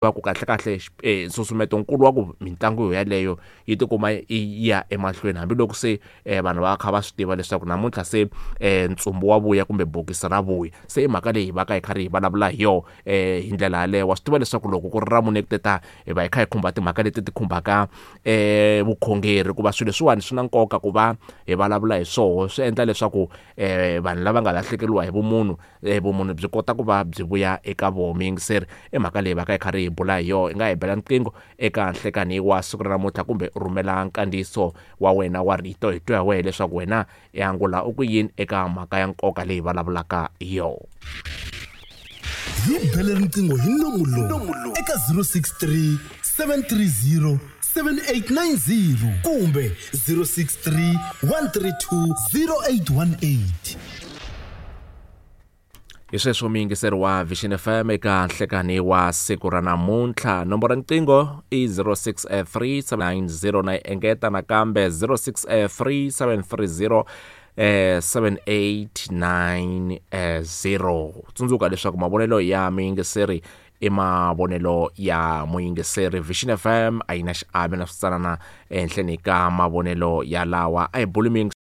Va ku kahlekahle nsusumeto nkulu wa ku mitlangu yeleyo yi tikuma yi ya emahlweni hambiloko se vanhu va kha va swi tiva leswaku namuntlha se ntsumbu wa vuya kumbe bokisi ra vuya. Se i mhaka leyi hi va ka hi karhi hi vulavula hi yona hi ndlela yaleyo. Wa swi tiva leswaku loko ku ri ra mune ku te ta hi va hi kha hi khumba timhaka leti ti khumbaka vukhongeri hikuva swilo leswiwani swi na nkoka ku va hi vulavula hi swoho swi endla leswaku vanhu lava nga lahlekeriwa hi vumunhu vumunhu byi kota ku va byi vuya eka voho muyingiseri i mhaka leyi va ka hi karhi hi bula hi yona i nga hi bela riqingho eka nhlekani wa siku ra namuntlha kumbe u rhumela nkandziyiso wa wena wa rito hi twa hi wehe leswaku wena i angula u ku yini eka mhaka ya nkoka leyi vulavulaka hi yona. Hi bele riqingho hi nomu lowu eka 063 730 7890 kumbe 063 132 0818. Hi sweswo muyingiseri wa Vision FM eka nhlekani wa siku ra namuntlha. Nomboro ya riqingho i 063790 na yi engeta nakambe 063730 7890. Tsundzuka leswaku mavonelo ya muyingiseri i mavonelo ya muyingiseri. Vision FM a yi na xiave na switsanana ehenhleni ka mavonelo ya lawa. A hi buli muyingiseri.